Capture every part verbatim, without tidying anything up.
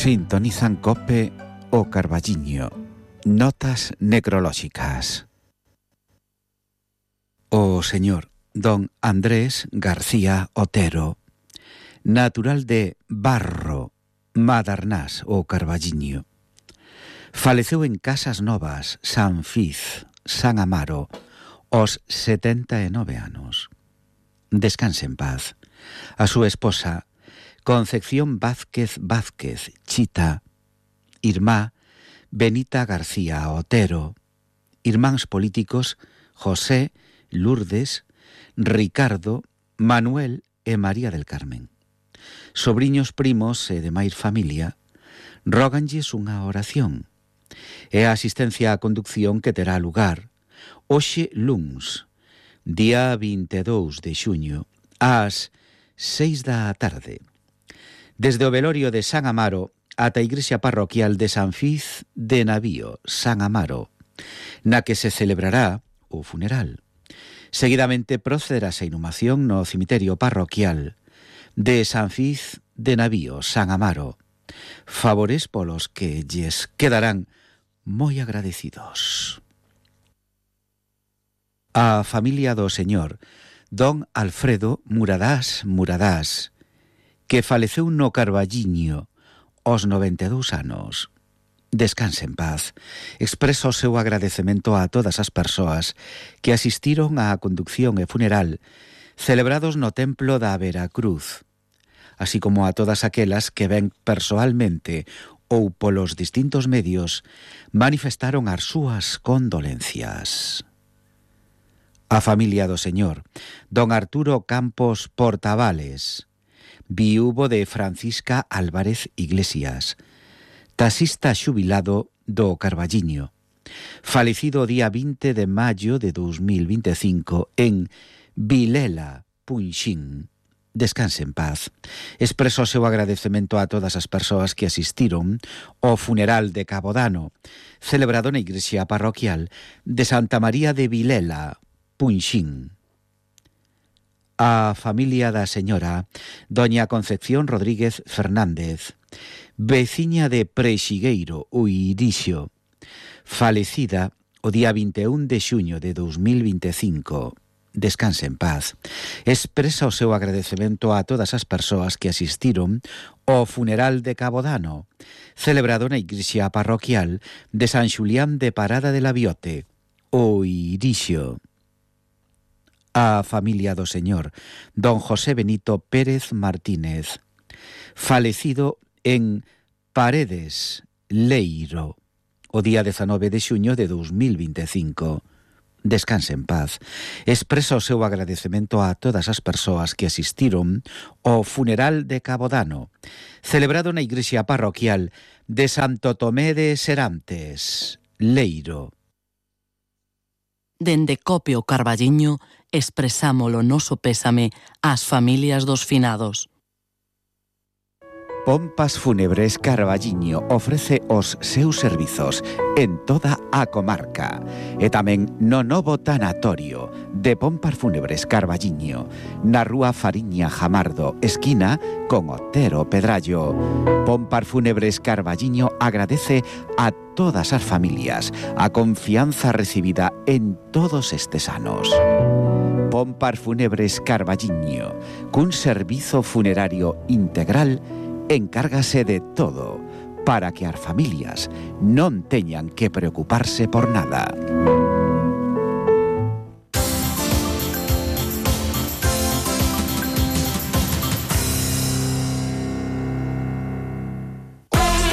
Sintonizan Cope o Carballiño. Notas necrolóxicas. O señor don Andrés García Otero, natural de Barro, Madarnás o Carballiño, faleceu en Casas Novas, San Fiz, San Amaro, aos setenta e nove anos. Descanse en paz. A súa esposa, Concepción Vázquez Vázquez Chita, irmá Benita García Otero, irmáns políticos José, Lourdes, Ricardo, Manuel e María del Carmen. Sobriños primos e demais familia róganlles unha oración e a asistencia á conducción que terá lugar hoxe luns, día vinte e dous de xuño, ás seis da tarde, desde o velorio de San Amaro ata a igrexa parroquial de San Fiz de Navío, San Amaro, na que se celebrará o funeral. Seguidamente procederase a inhumación no cemiterio parroquial de San Fiz de Navío, San Amaro, favores polos que lles quedarán moi agradecidos. A familia do señor don Alfredo Muradás Muradás, que faleceu no Carballiño aos noventa e dous anos. Descanse en paz. Expreso o seu agradecemento a todas as persoas que asistiron á conducción e funeral celebrados no Templo da Veracruz, así como a todas aquelas que ven persoalmente ou polos distintos medios manifestaron as súas condolencias. A familia do señor don Arturo Campos Portavales, viúvo de Francisca Álvarez Iglesias, taxista xubilado do Carballiño, falecido o día vinte de maio de dous mil vinte e cinco en Vilela, Punxín. Descanse en paz. Expreso o seu agradecemento a todas as persoas que asistiron ao funeral de Cabodano, celebrado na igrexa parroquial de Santa María de Vilela, Punxín. A familia da señora doña Concepción Rodríguez Fernández, veciña de Prexigueiro, o Irixo, falecida o día vinte e un de xuño de dous mil vinte e cinco. Descanse en paz. Expresa o seu agradecemento a todas as persoas que asistiron ao funeral de Cabodano, celebrado na igrexa parroquial de San Xulián de Parada de la Biote, o Irixo. A familia do señor don José Benito Pérez Martínez, falecido en Paredes, Leiro, o día dezanove de xuño de dous mil vinte e cinco. Descanse en paz. Expresa o seu agradecemento a todas as persoas que asistiron ao funeral de Cabodano, celebrado na igrexa parroquial de Santo Tomé de Serantes, Leiro. Dende Cope o Carballiño expresamos o noso pésame ás familias dos finados. Pompas Fúnebres Carballiño ofrece os seus servizos en toda a comarca e tamén no novo tanatorio de Pompas Fúnebres Carballiño, na rúa Fariña Jamardo, esquina con Otero Pedrallo. Pompas Fúnebres Carballiño agradece a todas as familias a confianza recibida en todos estes anos. Pompas Fúnebres Carballiño, cun servizo funerario integral, encárgase de todo para que as familias non teñan que preocuparse por nada.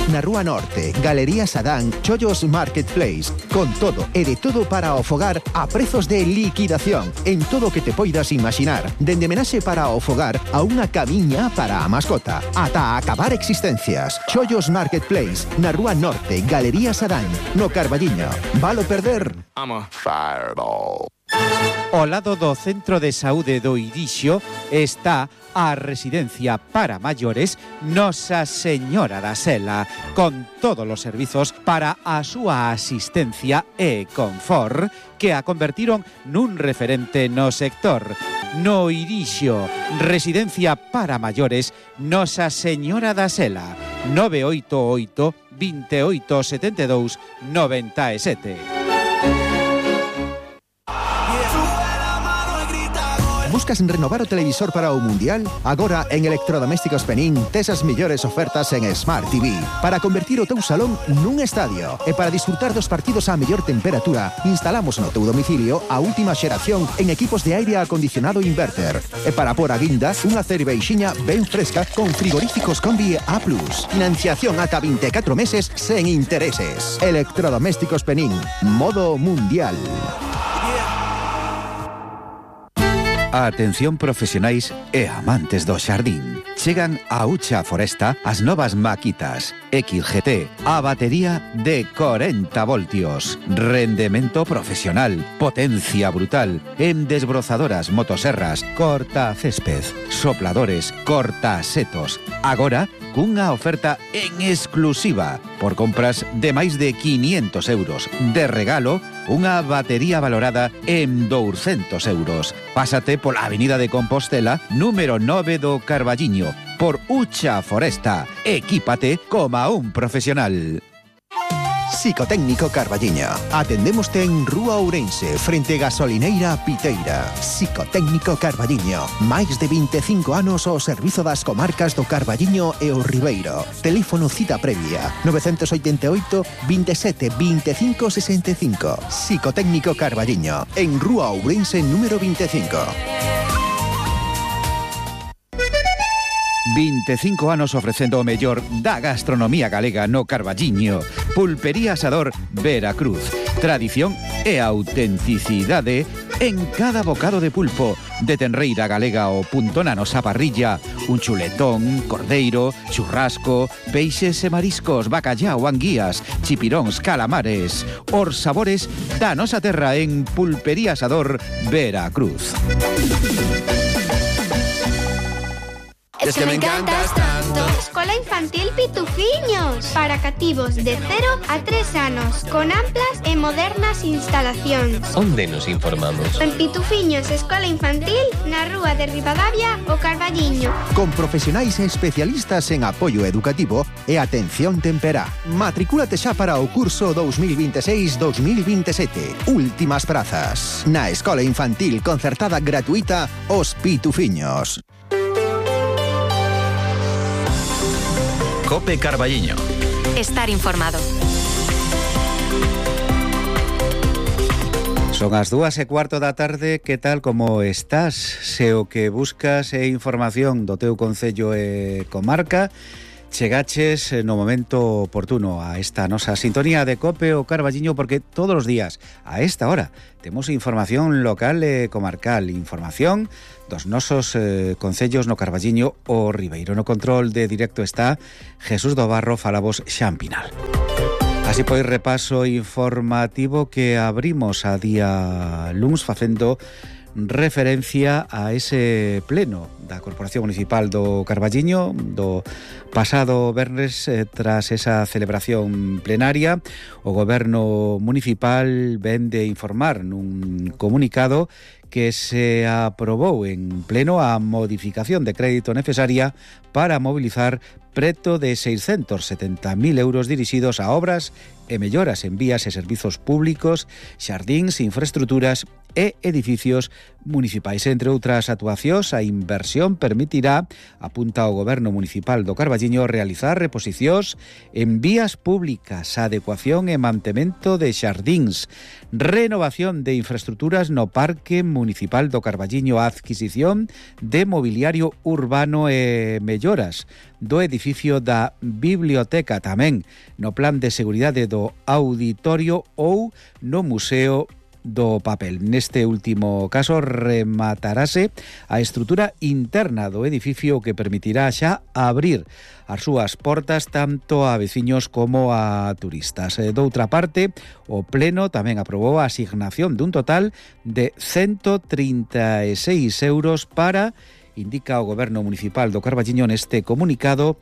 Na Rúa Norte, Galería Sadán, Chollos Marketplace, con todo e de todo para o fogar a prezos de liquidación en todo o que te poidas imaginar, dende menaxe para o fogar a unha camiña para a mascota, ata acabar existencias. Chollos Marketplace, na Rúa Norte, Galería Sadán, no Carballiño. Valo perder? I'm a fireball. Ao lado do Centro de Saúde do Irixo está a residencia para maiores Nosa Señora da Sela, con todos os servizos para a súa asistencia e confort que a convertiron nun referente no sector. No Irixo, residencia para maiores Nosa Señora da Sela. nove oito oito, veintiocho setenta y dos, noventa y siete. Buscas renovar o televisor para o Mundial? Agora en Electrodomésticos Penín tes as mellores ofertas en Smart T V para convertir o teu salón nun estadio e para disfrutar dos partidos á mellor temperatura. Instalamos no teu domicilio a última xeración en equipos de aire acondicionado inverter e para por a guinda unha cerveixiña ben fresca con frigoríficos Combi A plus. Financiación ata vinte e catro meses sen intereses. Electrodomésticos Penín, modo Mundial. Atención profesionais e amantes do xardín. Chegan a Ucha Foresta as novas maquitas X G T, a batería de corenta voltios, rendemento profesional, potencia brutal, en desbrozadoras, motoserras, corta césped, sopladores, corta setos. Agora, cunha oferta en exclusiva por compras de máis de quinientos euros. De regalo, unha batería valorada en douscentos euros. Pásate pola Avenida de Compostela, número nove do Carballiño, por Ucha Foresta. Equípate como un profesional. Psicotécnico Carballiño. Atendémoste en Rúa Ourense, frente Gasolineira Piteira. Psicotécnico Carballiño. Máis de vinte e cinco anos ao servizo das comarcas do Carballiño e o Ribeiro. Teléfono cita previa nove oito oito, veintisiete, veinticinco sesenta y cinco. Psicotécnico Carballiño. En Rúa Ourense número veinticinco. veinticinco anos ofrecendo o mellor da gastronomía galega no Carballiño. Pulpería Asador Veracruz. Tradición e autenticidade en cada bocado de pulpo. De tenreira galega o punto na nosa parrilla. Un chuletón, cordeiro, churrasco, peixes e mariscos, bacallao, anguías, chipiróns, calamares. Os sabores da nosa terra en Pulpería Asador Veracruz. Es que me encantas tanto. Escola Infantil Pitufiños, para cativos de cero a tres anos, con amplas e modernas instalacións. Onde nos informamos? En Pitufiños Escola Infantil, na rúa de Ribadavia, o Carballiño. Con profesionais e especialistas en apoio educativo e atención temperá. Matricúlate xa para o curso dos mil veintiséis dos mil veintisiete. Últimas prazas. Na Escola Infantil concertada gratuita Os Pitufiños. Cope Carballiño. Estar informado. Son as dúas e cuarto da tarde. Que tal, como estás? Se o que buscas é información do teu concello e comarca, chegaches no momento oportuno a esta nosa sintonía de Cope o Carballiño, porque todos os días, a esta hora, temos información local e comarcal, información dos nosos eh, concellos no Carballiño o Ribeiro. No control de directo está Jesús do Barro, falabos Xan Pinal. Así pois, repaso informativo que abrimos a día luns facendo referencia a ese pleno da Corporación Municipal do Carballiño do pasado venres. Eh, tras esa celebración plenaria, o Goberno Municipal ven de informar nun comunicado que se aprobou en pleno a modificación de crédito necesaria para mobilizar preto de seiscentos setenta mil euros dirixidos a obras e melloras en vías e servizos públicos, xardíns, infraestruturas e edificios municipais. Entre outras actuacións, a inversión permitirá, apunta o Goberno Municipal do Carballiño, realizar reposicións en vías públicas, adecuación e mantemento de xardíns, renovación de infraestruturas no Parque Municipal do Carballiño, adquisición de mobiliario urbano e melloras do edificio da biblioteca, tamén no plan de seguridade do auditorio ou no Museo do Papel. Neste último caso rematarase a estrutura interna do edificio, que permitirá xa abrir as súas portas tanto a veciños como a turistas. Doutra parte, o Pleno tamén aprobou a asignación dun total de ciento trinta e seis euros para, indica o Goberno Municipal do Carballiño neste comunicado,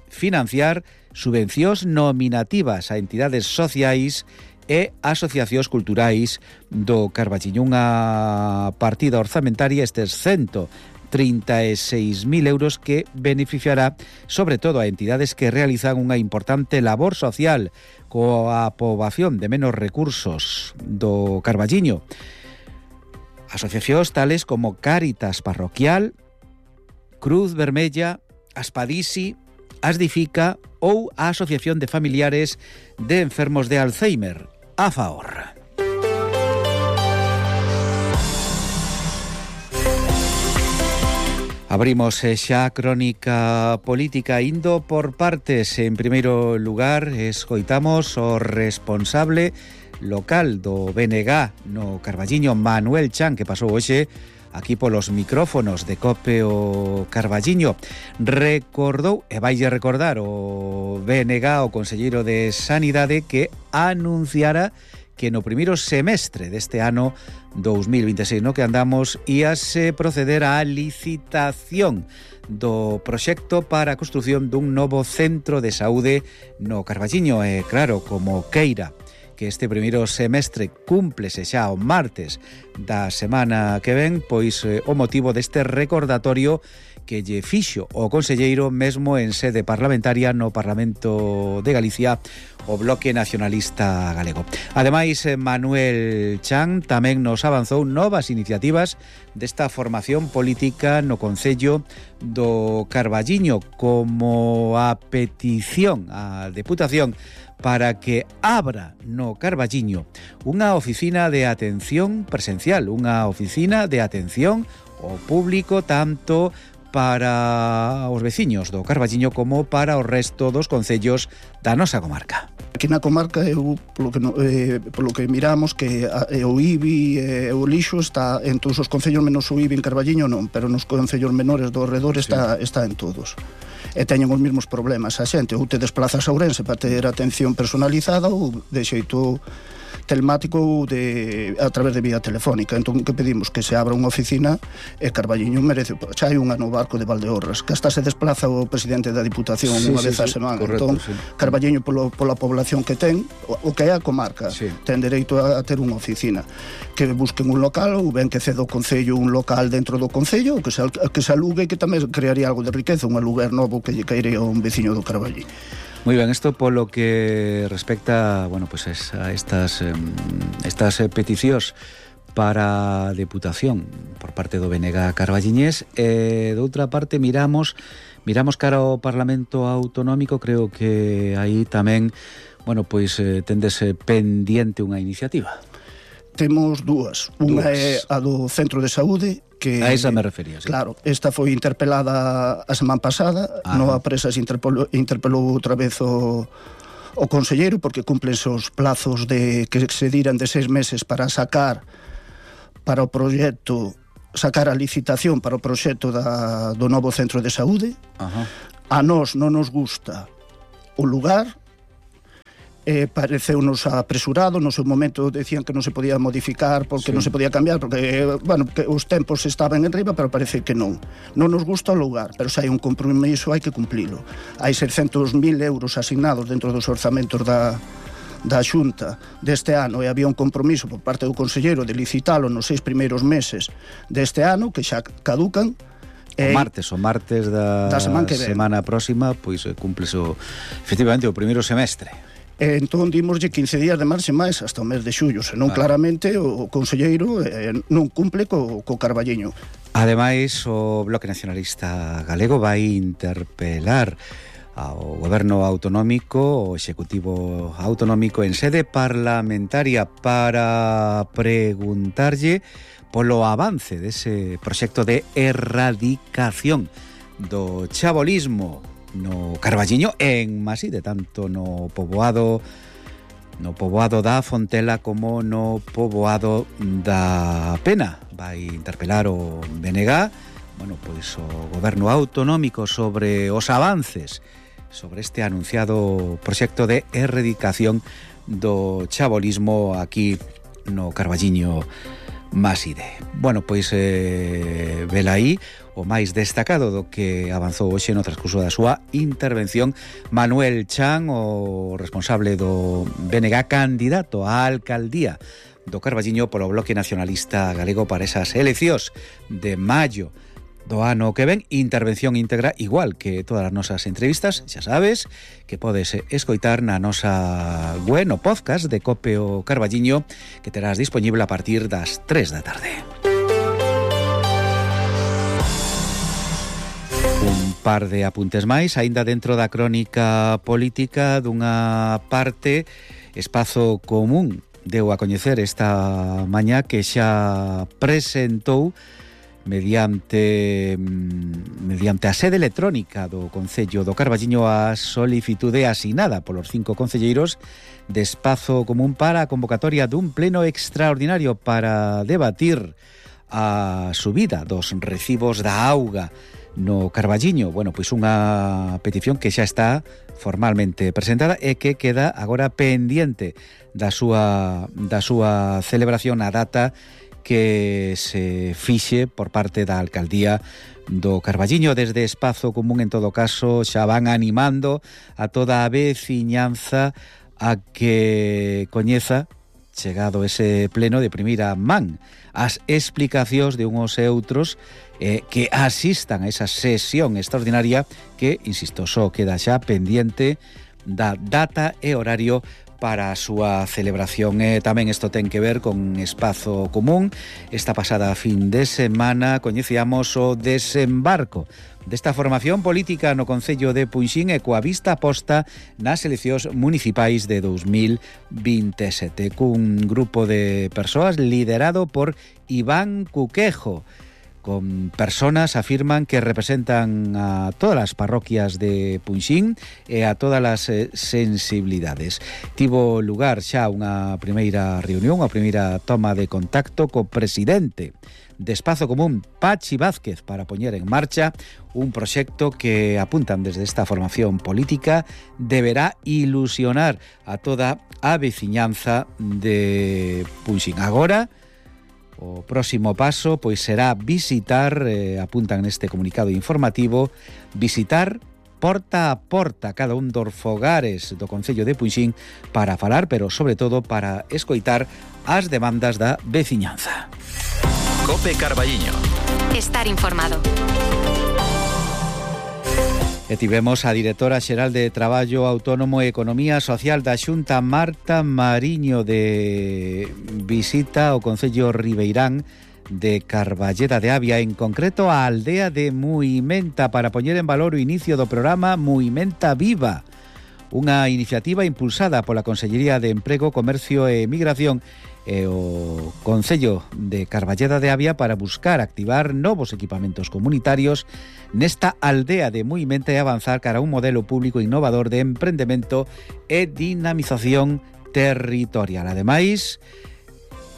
financiar subvencións nominativas a entidades sociais e asociacións culturais do Carballiño. Unha partida orzamentaria, estes ciento trinta e seis mil euros que beneficiará sobre todo a entidades que realizan unha importante labor social coa poboación de menos recursos do Carballiño. Asociacións tales como Cáritas Parroquial, Cruz Vermella, Aspadisi, Asdifica ou a Asociación de Familiares de Enfermos de Alzheimer, AFAOR. Abrimos xa a crónica política indo por partes. En primeiro lugar, escoitamos o responsable local do B N G no Carballiño, Manuel Chan, que pasou hoxe aquí polos micrófonos de COPE o Carballiño. Recordou, e vaille recordar o B N G, o conselleiro de Sanidade, que anunciara que no primeiro semestre deste ano dos mil vinte e seis, no que andamos, íase proceder á licitación do proxecto para a construción dun novo centro de saúde no Carballiño. E claro, como queira que este primeiro semestre cúmplese xa o martes da semana que ven, pois eh, o motivo deste recordatorio que lle fixo o conselleiro mesmo en sede parlamentaria no Parlamento de Galicia o Bloque Nacionalista Galego. Ademais, Manuel Chan tamén nos avanzou novas iniciativas desta formación política no Concello do Carballiño, como a petición á Deputación para que abra no Carballiño unha oficina de atención presencial, unha oficina de atención ao público, tanto para os veciños do Carballiño como para o resto dos concellos da nosa comarca. Aquí na comarca, eu, polo, que, eh, polo que miramos, que a, eh, o I B I e eh, o lixo está en todos os concellos menos o I B I en Carballiño non, pero nos concellos menores do redor está, sí. está en todos. E teñen os mesmos problemas a xente, ou te desplazas a Ourense para ter atención personalizada ou de xeito telemático ou de, a través de vía telefónica. Entón, que pedimos? Que se abra unha oficina e Carballiño merece. Xa hai unha no barco de Valdeorras, que hasta se desplaza o presidente da Diputación sí, unha sí, vez a sí, semana. Correcto, entón, sí. Carballiño, polo, pola población que ten, o, o que é a comarca, sí. ten dereito a, a ter unha oficina. Que busquen un local, ou ben que ceda o Concello un local dentro do Concello, ou que se, que se alugue, que tamén crearía algo de riqueza, un aluguer novo que lle caería a un veciño do Carballiño. Muy bien, esto por lo que respecta, bueno, pues a estas estas peticións para deputación por parte do B N G carballiñés. E de outra parte miramos miramos cara ao Parlamento Autonómico, creo que aí tamén, bueno, pois eh, tendese pendiente unha iniciativa. Temos dúas. Unha é a do Centro de Saúde, que a esa me refería, sí. Claro, esta foi interpelada a semana pasada. Ajá. No a presa se interpelou, interpelou outra vez o, o conselleiro, porque cumplense os plazos de que se diran de seis meses para sacar para o proxecto, sacar a licitación para o proxecto da, do novo Centro de Saúde. Ajá. A nós non nos gusta o lugar. Eh, pareceunos apresurado, no seu momento decían que non se podía modificar porque sí. non se podía cambiar, porque, eh, bueno, que os tempos estaban en riba, pero parece que non. Non nos gusta o lugar, pero se hai un compromiso hai que cumplilo. Hai seiscentos mil euros asignados dentro dos orzamentos da, da Xunta deste ano, e había un compromiso por parte do conselleiro de licitalo nos seis primeiros meses deste ano, que xa caducan. O martes, o martes da, da semana, que semana próxima, pois cúmplese o, efectivamente o primeiro semestre. E entón dimoslle quince días de marxe máis hasta o mes de xullo, senón vale. Claramente o conselleiro eh, non cumple co, co Carballiño. Ademais, o Bloque Nacionalista Galego vai interpelar ao Goberno Autonómico, o Executivo Autonómico en sede parlamentaria, para preguntarlle polo avance dese proxecto de erradicación do chabolismo no Carballiño, en Maside, tanto no poboado no poboado da Fontela como no poboado da Pena. Vai interpelar o B N G, bueno, pois o Goberno Autonómico sobre os avances sobre este anunciado proxecto de erradicación do chabolismo aquí no Carballiño Maside. Bueno, pois eh, vela aí o máis destacado do que avanzou hoxe no transcurso da súa intervención Manuel Chan, o responsable do B N G, candidato á alcaldía do Carballiño polo Bloque Nacionalista Galego para esas eleccións de maio do ano que ven, intervención íntegra igual que todas as nosas entrevistas, xa sabes que podes escoitar na nosa web, no podcast de Cope o Carballiño, que terás disponible a partir das tres da tarde. Un par de apuntes máis, aínda dentro da crónica política. Dunha parte, Espazo Común deu a coñecer esta mañá que xa presentou mediante mediante a sede electrónica do Concello do Carballiño a solicitude asinada polos cinco concelleiros de Espazo Común para a convocatoria dun pleno extraordinario para debatir a subida dos recibos da auga no Carballiño. Bueno, pois unha petición que xa está formalmente presentada e que queda agora pendiente da súa da súa celebración a data que se fixe por parte da Alcaldía do Carballiño. Desde Espazo Común, en todo caso, xa van animando a toda a veciñanza a que coñeza, chegado ese pleno, de primeira man as explicacións de uns e outros eh, que asistan a esa sesión extraordinaria que, insisto, só queda xa pendiente da data e horario para a súa celebración. E tamén isto ten que ver con Espazo Común. Esta pasada fin de semana coñecíamos o desembarco desta formación política no Concello de Punxín e coa vista posta nas eleccións municipais de dos mil veintesete, cun grupo de persoas liderado por Iván Cuquejo, con personas afirman que representan a todas as parroquias de Punxín e a todas as eh, sensibilidades. Tivo lugar xa unha primeira reunión, a primeira toma de contacto co presidente de Espazo Común, Pachi Vázquez, para poñer en marcha un proxecto que, apuntan desde esta formación política, deberá ilusionar a toda a veciñanza de Punxín. Agora, o próximo paso pois será visitar, eh, apuntan neste comunicado informativo, visitar porta a porta cada un dos fogares do Concello de Punxín para falar, pero sobre todo para escoitar as demandas da veciñanza. Cope Carballiño. Estar informado. E tivemos a directora xeral de Traballo Autónomo e Economía Social da Xunta, Marta Mariño, de visita ao Concello Ribeirán de Carballeda de Avia, en concreto a aldea de Muimenta, para poñer en valor o inicio do programa Muimenta Viva, unha iniciativa impulsada pola Consellería de Emprego, Comercio e Migración e o Concello de Carballeda de Avia para buscar activar novos equipamentos comunitarios nesta aldea de Muimenta e avanzar cara a un modelo público innovador de emprendemento e dinamización territorial. Ademais,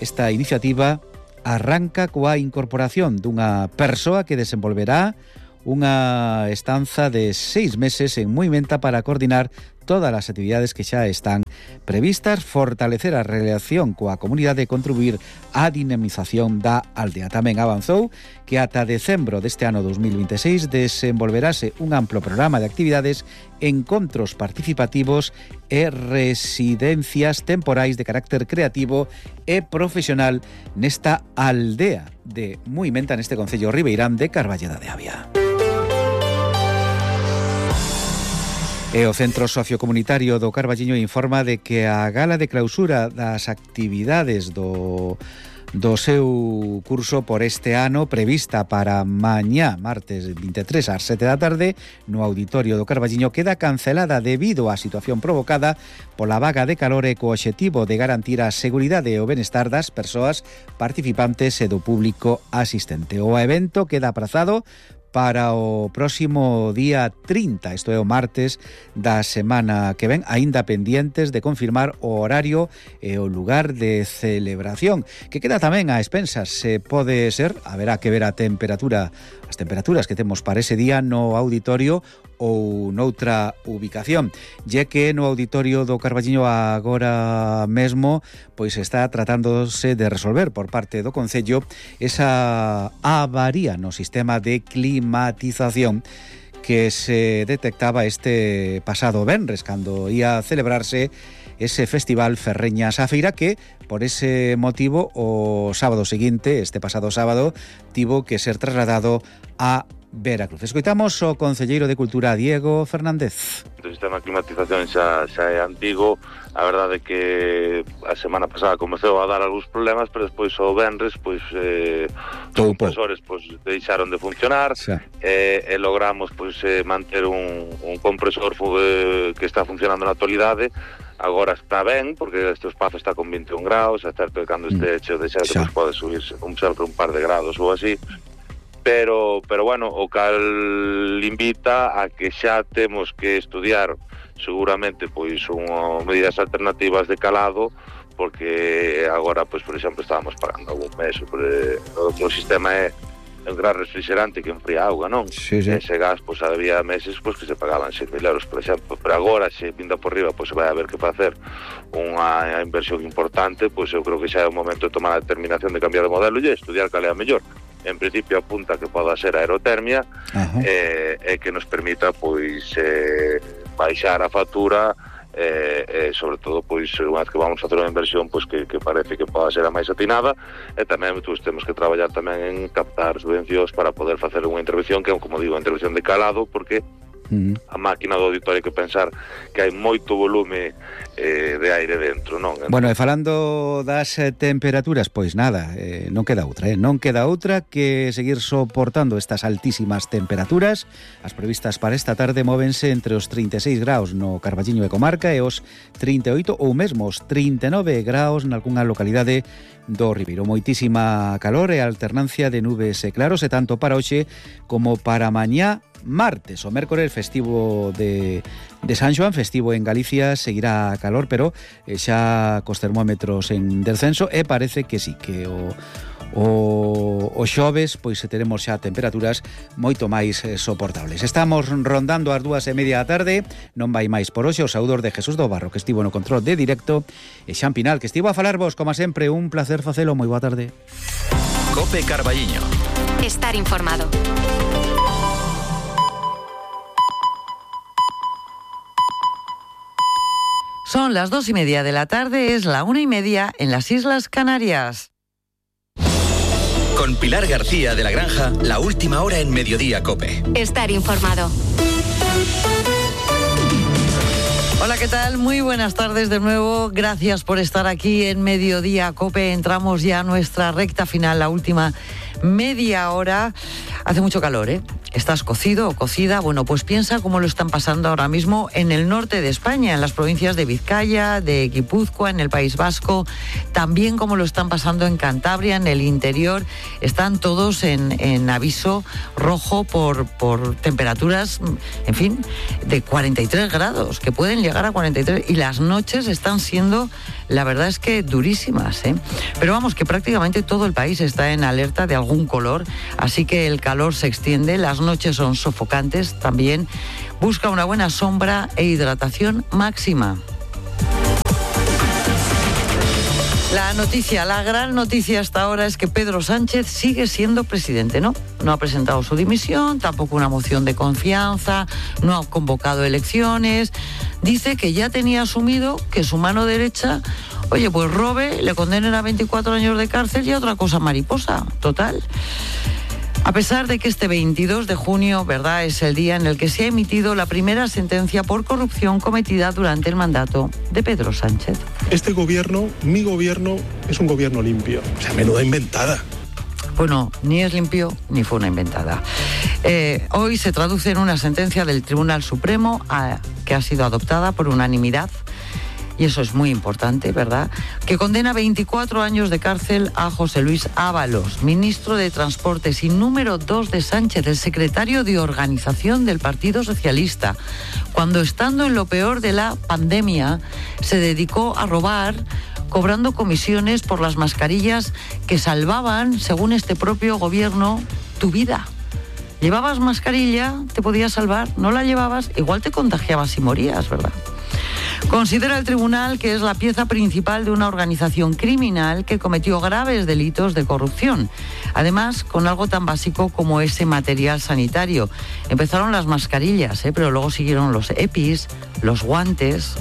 esta iniciativa arranca coa incorporación dunha persoa que desenvolverá unha estanza de seis meses en Muimenta para coordinar todas as actividades que xa están previstas, fortalecer a relación coa comunidade e contribuir á dinamización da aldea. Tamén avanzou que ata decembro deste ano dos mil veintiséis desenvolverase un amplo programa de actividades, encontros participativos e residencias temporais de carácter creativo e profesional nesta aldea de Muimenta, neste Concello Ribeirán de Carballeda de Avia. E o Centro Sociocomunitario do Carballiño informa de que a gala de clausura das actividades do, do seu curso por este ano, prevista para mañá, martes vinte e tres ás sete da tarde, no Auditorio do Carballiño, queda cancelada debido á situación provocada pola vaga de calor e co obxectivo de garantir a seguridade e o benestar das persoas participantes e do público asistente. O evento queda aprazado para o próximo día trinta, isto é o martes da semana que ven, aínda pendientes de confirmar o horario e o lugar de celebración, que queda tamén a expensas. Se pode ser, haberá que ver a temperatura, as temperaturas que temos para ese día no auditorio ou noutra ubicación, ya que no Auditorio do Carballiño agora mesmo pois está tratándose de resolver por parte do Concello esa avaría no sistema de climatización que se detectaba este pasado venres cando ia celebrarse ese festival Ferreñas a Feira que, por ese motivo, o sábado seguinte, este pasado sábado, tivo que ser trasladado a Veracruz. Escoitamos o concelleiro de Cultura, Diego Fernández. O sistema de climatización xa, xa é antigo. A verdade é que a semana pasada comezou a dar algúns problemas, pero despois o venres pois, eh, os compresores pois, deixaron de funcionar e, e logramos pois, eh, manter un, un compresor eh, que está funcionando na actualidade. Agora está ben, porque este espazo está con vinte e un graus, é certo que cando este hecho de xerte pois, pode subirse un, un par de grados ou así. Pero, pero bueno, o cal invita a que xa temos que estudiar seguramente pois unha medidas alternativas de calado, porque agora, pois por exemplo, estábamos pagando algún mes, o, o sistema é un gran refrigerante que enfría auga, non? Sí, sí. Ese gas, pois había meses pois, que se pagaban seis mil euros, por exemplo, pero agora, se vinda por riba, pois se vai haber que facer unha inversión importante, pois eu creo que xa é o momento de tomar a determinación de cambiar de modelo e estudiar cal é a mellor. En principio apunta que poda ser aerotermia e eh, que nos permita pois eh, baixar a factura e eh, eh, sobre todo pois unha vez que vamos a facer unha inversión pois que, que parece que poda ser a máis atinada, e tamén pois, temos que traballar tamén en captar subvencións para poder facer unha intervención que é, como digo, unha intervención de calado, porque Uh-huh. a máquina do auditorio que pensar que hai moito volume eh, de aire dentro, non? Entón... Bueno, e falando das eh, temperaturas, pois nada, eh, non queda outra, eh? non queda outra que seguir soportando estas altísimas temperaturas. As previstas para esta tarde móvense entre os trinta e seis graus no Carballiño e comarca e os trinta e oito ou mesmo os trinta e nove graus nalgunha localidade do Ribeiro. Moitísima calor e alternancia de nubes e claros, e tanto para hoxe como para mañá martes. O mércores festivo de, de San Xoán, festivo en Galicia, seguirá calor, pero eh, xa cos termómetros en descenso, e parece que sí, que o O, o xoves pois teremos xa temperaturas moito máis eh, soportables. Estamos rondando as dúas e media da tarde. Non vai máis por hoxe. O saúdor de Jesús do Barro, que estivo no control de directo, e Xan Pinal, que estivo a falarvos, como sempre, un placer facelo. Moi boa tarde. Cope Carballiño. Estar informado. Son las dos y media de la tarde, es la una y media en las Islas Canarias. Con Pilar García de la Granja, la última hora en Mediodía Cope. Estar informado. Hola, ¿qué tal? Muy buenas tardes de nuevo. Gracias por estar aquí en Mediodía Cope. Entramos ya a nuestra recta final, la última media hora. Hace mucho calor, ¿eh? ¿Estás cocido o cocida? Bueno, pues piensa cómo lo están pasando ahora mismo en el norte de España, en las provincias de Vizcaya, de Guipúzcoa, en el País Vasco, también cómo lo están pasando en Cantabria, en el interior. Están todos en, en aviso rojo por, por temperaturas, en fin, de cuarenta y tres grados, que pueden llegar a cuarenta y tres, y las noches están siendo, la verdad es que durísimas, ¿eh? Pero vamos, que prácticamente todo el país está en alerta de algún color, así que el calor se extiende, las noches son sofocantes también. Busca una buena sombra e hidratación máxima. La noticia, la gran noticia hasta ahora es que Pedro Sánchez sigue siendo presidente, ¿no? No ha presentado su dimisión, tampoco una moción de confianza, no ha convocado elecciones. Dice que ya tenía asumido que su mano derecha, oye, pues robe, le condenen a veinticuatro años de cárcel y a otra cosa mariposa, total. A pesar de que este veintidós de junio, ¿verdad?, es el día en el que se ha emitido la primera sentencia por corrupción cometida durante el mandato de Pedro Sánchez. Este gobierno, mi gobierno, es un gobierno limpio. O sea, menuda inventada. Bueno, ni es limpio ni fue una inventada. Eh, hoy se traduce en una sentencia del Tribunal Supremo a, que ha sido adoptada por unanimidad. Y eso es muy importante, ¿verdad?, que condena veinticuatro años de cárcel a José Luis Ábalos, ministro de Transportes y número dos de Sánchez, el secretario de organización del Partido Socialista, cuando, estando en lo peor de la pandemia, se dedicó a robar, cobrando comisiones por las mascarillas que salvaban, según este propio gobierno, tu vida. Llevabas mascarilla, te podías salvar, no la llevabas, igual te contagiabas y morías, ¿verdad? Considera el tribunal que es la pieza principal de una organización criminal que cometió graves delitos de corrupción. Además, con algo tan básico como ese material sanitario. Empezaron las mascarillas, ¿eh? Pero luego siguieron los EPIs, los guantes.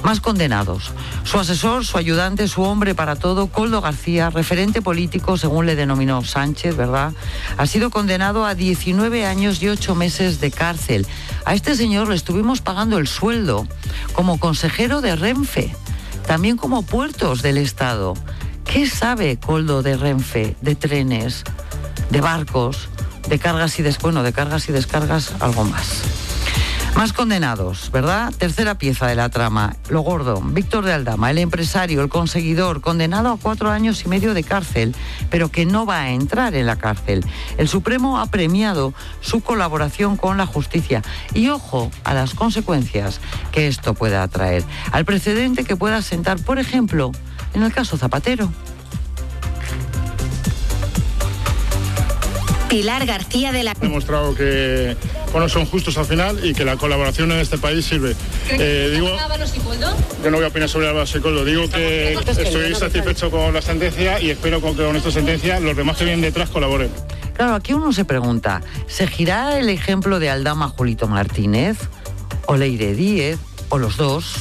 Más condenados. Su asesor, su ayudante, su hombre para todo, Koldo García, referente político, según le denominó Sánchez, ¿verdad?, ha sido condenado a diecinueve años y ocho meses de cárcel. A este señor le estuvimos pagando el sueldo como consejero de Renfe, también como puertos del Estado. ¿Qué sabe Koldo de Renfe, de trenes, de barcos, de cargas y des... bueno, de cargas y descargas, algo más? Más condenados, ¿verdad? Tercera pieza de la trama. Lo gordo. Víctor de Aldama, el empresario, el conseguidor, condenado a cuatro años y medio de cárcel, pero que no va a entrar en la cárcel. El Supremo ha premiado su colaboración con la justicia. Y ojo a las consecuencias que esto pueda traer. Al precedente que pueda sentar, por ejemplo, en el caso Zapatero. Pilar García de la... Ha demostrado que bueno, son justos al final y que la colaboración en este país sirve. Eh, digo, yo no voy a opinar sobre Álvaro Sicoldo. Digo que estoy satisfecho con la sentencia y espero que con esta sentencia los demás que vienen detrás colaboren. Claro, aquí uno se pregunta, ¿seguirá el ejemplo de Aldama Julito Martínez? ¿O Leire Díez? ¿O los dos?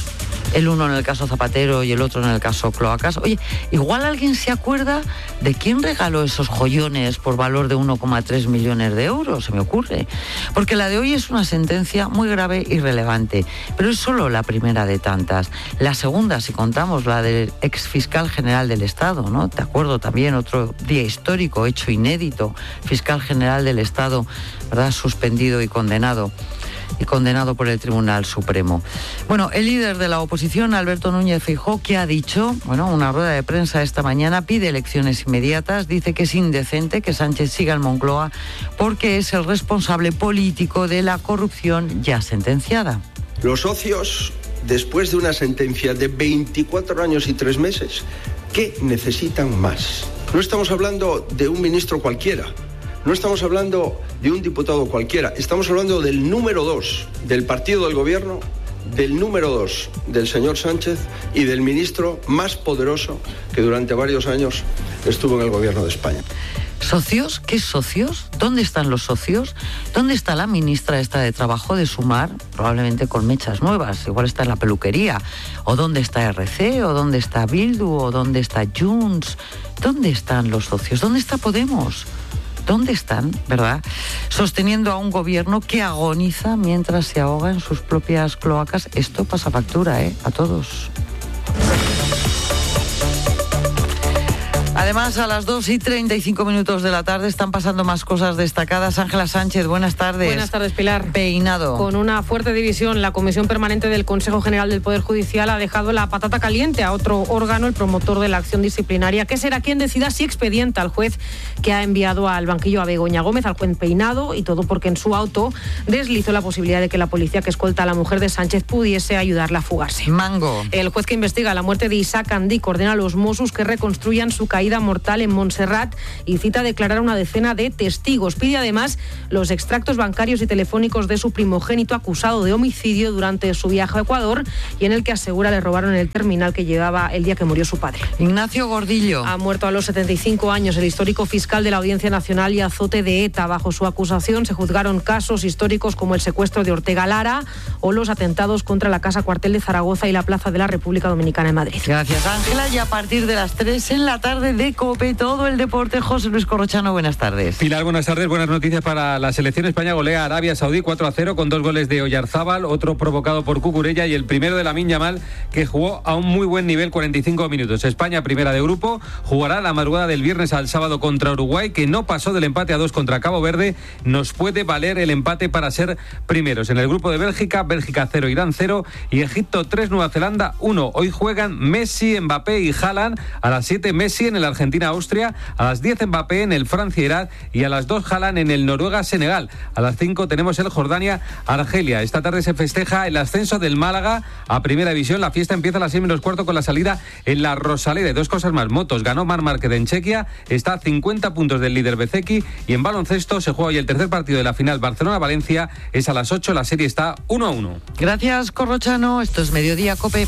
El uno en el caso Zapatero y el otro en el caso Cloacas. Oye, igual alguien se acuerda de quién regaló esos joyones por valor de uno coma tres millones de euros, se me ocurre. Porque la de hoy es una sentencia muy grave y relevante, pero es solo la primera de tantas. La segunda, si contamos, la del exfiscal general del Estado, ¿no? Te acuerdo también, otro día histórico, hecho inédito, fiscal general del Estado, ¿verdad?, suspendido y condenado. y condenado por el Tribunal Supremo. Bueno, el líder de la oposición, Alberto Núñez Feijóo, ¿qué ha dicho? Bueno, una rueda de prensa esta mañana, pide elecciones inmediatas, dice que es indecente que Sánchez siga en Moncloa porque es el responsable político de la corrupción ya sentenciada. Los socios, después de una sentencia de veinticuatro años y tres meses, ¿qué necesitan más? No estamos hablando de un ministro cualquiera. No estamos hablando de un diputado cualquiera, estamos hablando del número dos del partido del gobierno, del número dos del señor Sánchez y del ministro más poderoso que durante varios años estuvo en el gobierno de España. ¿Socios? ¿Qué socios? ¿Dónde están los socios? ¿Dónde está la ministra esta de Trabajo de Sumar? Probablemente con mechas nuevas, igual está en la peluquería. ¿O dónde está R C? ¿O dónde está Bildu? ¿O dónde está Junts? ¿Dónde están los socios? ¿Dónde está Podemos? ¿Dónde están, verdad? Sosteniendo a un gobierno que agoniza mientras se ahoga en sus propias cloacas. Esto pasa factura, ¿eh? A todos. Además, a las dos y treinta y cinco minutos de la tarde están pasando más cosas destacadas. Ángela Sánchez, buenas tardes. Buenas tardes, Pilar. Peinado. Con una fuerte división, la Comisión Permanente del Consejo General del Poder Judicial ha dejado la patata caliente a otro órgano, el promotor de la acción disciplinaria, que será quien decida si expedienta al juez que ha enviado al banquillo a Begoña Gómez, al juez Peinado, y todo porque en su auto deslizó la posibilidad de que la policía que escolta a la mujer de Sánchez pudiese ayudarla a fugarse. Mango. El juez que investiga la muerte de Isaac Andí ordena a los Mossos que reconstruyan su caída mortal en Montserrat y cita a declarar a una decena de testigos. Pide además los extractos bancarios y telefónicos de su primogénito acusado de homicidio durante su viaje a Ecuador y en el que asegura le robaron el terminal que llevaba el día que murió su padre. Ignacio Gordillo. Ha muerto a los setenta y cinco años el histórico fiscal de la Audiencia Nacional y azote de ETA. Bajo su acusación se juzgaron casos históricos como el secuestro de Ortega Lara o los atentados contra la Casa Cuartel de Zaragoza y la Plaza de la República Dominicana en Madrid. Gracias, Ángela. Y a partir de las tres en la tarde de COPE, todo el deporte. José Luis Corrochano, buenas tardes. Pilar, buenas tardes. Buenas noticias para la selección. España golea a Arabia Saudí cuatro a cero con dos goles de Oyarzábal, otro provocado por Cucurella y el primero de Lamine Yamal, que jugó a un muy buen nivel, cuarenta y cinco minutos. España, primera de grupo, jugará la madrugada del viernes al sábado contra Uruguay, que no pasó del empate a dos contra Cabo Verde. Nos puede valer el empate para ser primeros. En el grupo de Bélgica, Bélgica cero, Irán cero y Egipto tres, Nueva Zelanda uno. Hoy juegan Messi, Mbappé y Haaland. A las siete Messi en el Argentina-Austria, a las diez Mbappé en el Francia-Irak y a las dos Haaland en el Noruega-Senegal. A las cinco tenemos el Jordania-Argelia. Esta tarde se festeja el ascenso del Málaga a Primera División. La fiesta empieza a las seis menos cuarto con la salida en la Rosaleda. Dos cosas más. Motos, ganó Marc Márquez en Chequia, está a cincuenta puntos del líder Bezeki, y en baloncesto se juega hoy el tercer partido de la final Barcelona-Valencia. Es a las ocho, la serie está uno a uno. Gracias, Corrochano. Esto es Mediodía COPE.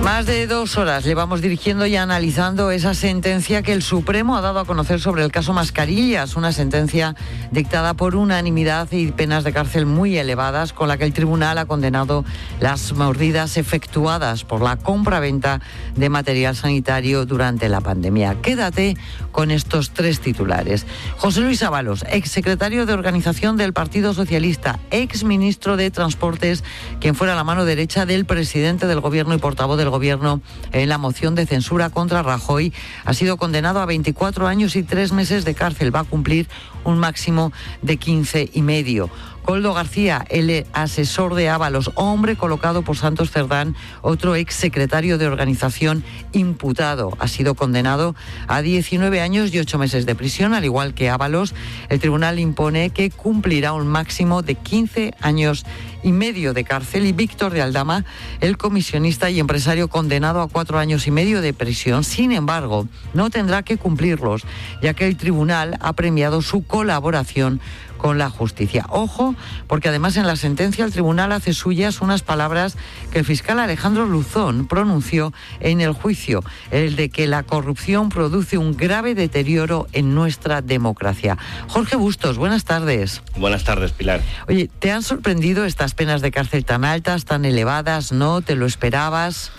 Más de dos horas llevamos dirigiendo y analizando esa sentencia que el Supremo ha dado a conocer sobre el caso Mascarillas, una sentencia dictada por unanimidad y penas de cárcel muy elevadas, con la que el tribunal ha condenado las mordidas efectuadas por la compra-venta de material sanitario durante la pandemia. Quédate con estos tres titulares. José Luis Ábalos, exsecretario de Organización del Partido Socialista, exministro de Transportes, quien fuera la mano derecha del presidente del Gobierno y portavoz del Gobierno en la moción de censura contra Rajoy, ha sido condenado a veinticuatro años y tres meses de cárcel. Va a cumplir un máximo de quince y medio. Koldo García, el asesor de Ábalos, hombre colocado por Santos Cerdán, otro exsecretario de Organización imputado, ha sido condenado a diecinueve años y ocho meses de prisión, al igual que Ábalos. El tribunal impone que cumplirá un máximo de quince años y medio de cárcel, y Víctor de Aldama, el comisionista y empresario, condenado a cuatro años y medio de prisión. Sin embargo, no tendrá que cumplirlos, ya que el tribunal ha premiado su colaboración con la justicia. Ojo, porque además en la sentencia el tribunal hace suyas unas palabras que el fiscal Alejandro Luzón pronunció en el juicio, el de que la corrupción produce un grave deterioro en nuestra democracia. Jorge Bustos, buenas tardes. Buenas tardes, Pilar. Oye, ¿te han sorprendido estas penas de cárcel tan altas, tan elevadas? ¿No? ¿Te lo esperabas?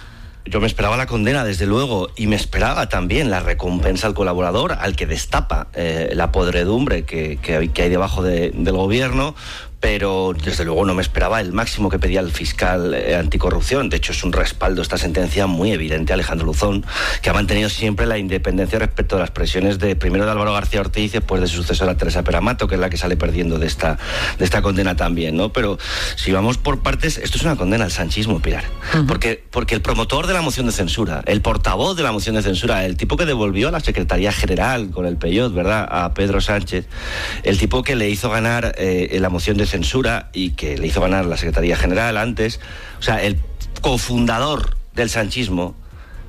Yo me esperaba la condena, desde luego, y me esperaba también la recompensa al colaborador, al que destapa eh, la podredumbre que, que, que hay debajo de, del gobierno, pero desde luego no me esperaba el máximo que pedía el fiscal eh, anticorrupción. De hecho, es un respaldo esta sentencia muy evidente a Alejandro Luzón, que ha mantenido siempre la independencia respecto a las presiones de primero de Álvaro García Ortiz y después de su sucesora Teresa Peramato, que es la que sale perdiendo de esta, de esta condena también, ¿no? Pero si vamos por partes, esto es una condena al sanchismo, Pilar. Uh-huh. Porque, porque el promotor de la moción de censura, el portavoz de la moción de censura, el tipo que devolvió a la Secretaría General con el Peyot, ¿verdad?, a Pedro Sánchez, el tipo que le hizo ganar eh, la moción de censura y que le hizo ganar la Secretaría General antes, o sea, el cofundador del sanchismo,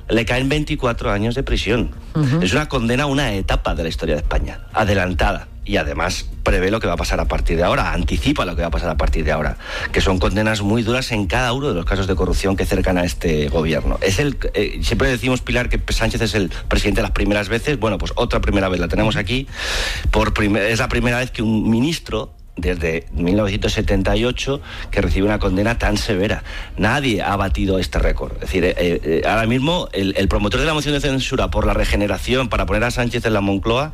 le caen veinticuatro años de prisión. Uh-huh. Es una condena a una etapa de la historia de España, adelantada, y además prevé lo que va a pasar a partir de ahora, anticipa lo que va a pasar a partir de ahora, que son condenas muy duras en cada uno de los casos de corrupción que cercan a este gobierno. Es el eh, siempre decimos, Pilar, que Sánchez es el presidente las primeras veces. Bueno, pues otra primera vez la tenemos aquí. Por primer, es la primera vez que un ministro, desde mil novecientos setenta y ocho, que recibe una condena tan severa. Nadie ha batido este récord. Es decir, eh, eh, ahora mismo el, el promotor de la moción de censura por la regeneración para poner a Sánchez en la Moncloa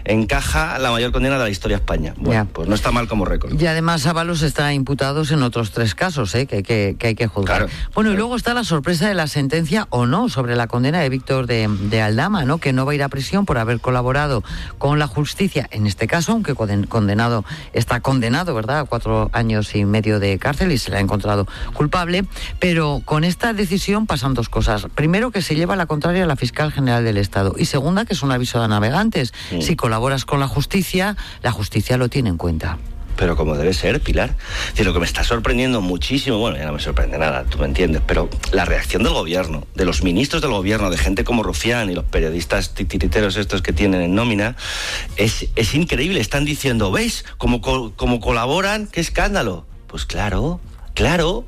encaja la mayor condena de la historia de España. Bueno, ya. Pues no está mal como récord. Y además Ábalos está imputados en otros tres casos, ¿eh? que, que, que hay que juzgar. Claro, bueno, claro. Y luego está la sorpresa de la sentencia o no sobre la condena de Víctor de, de Aldama, ¿no?, que no va a ir a prisión por haber colaborado con la justicia, en este caso, aunque condenado está condenado, ¿verdad?, a cuatro años y medio de cárcel y se le ha encontrado culpable, pero con esta decisión pasan dos cosas. Primero, que se lleva la contraria a la fiscal general del Estado, y segunda, que es un aviso a navegantes. Sí. Si colaboras con la justicia, la justicia lo tiene en cuenta. Pero como debe ser, Pilar. Es decir, lo que me está sorprendiendo muchísimo, bueno, ya no me sorprende nada, tú me entiendes, pero la reacción del gobierno, de los ministros del gobierno, de gente como Rufián y los periodistas titiriteros estos que tienen en nómina, es, es increíble. Están diciendo, ¿veis cómo, cómo colaboran? ¡Qué escándalo! Pues claro, claro.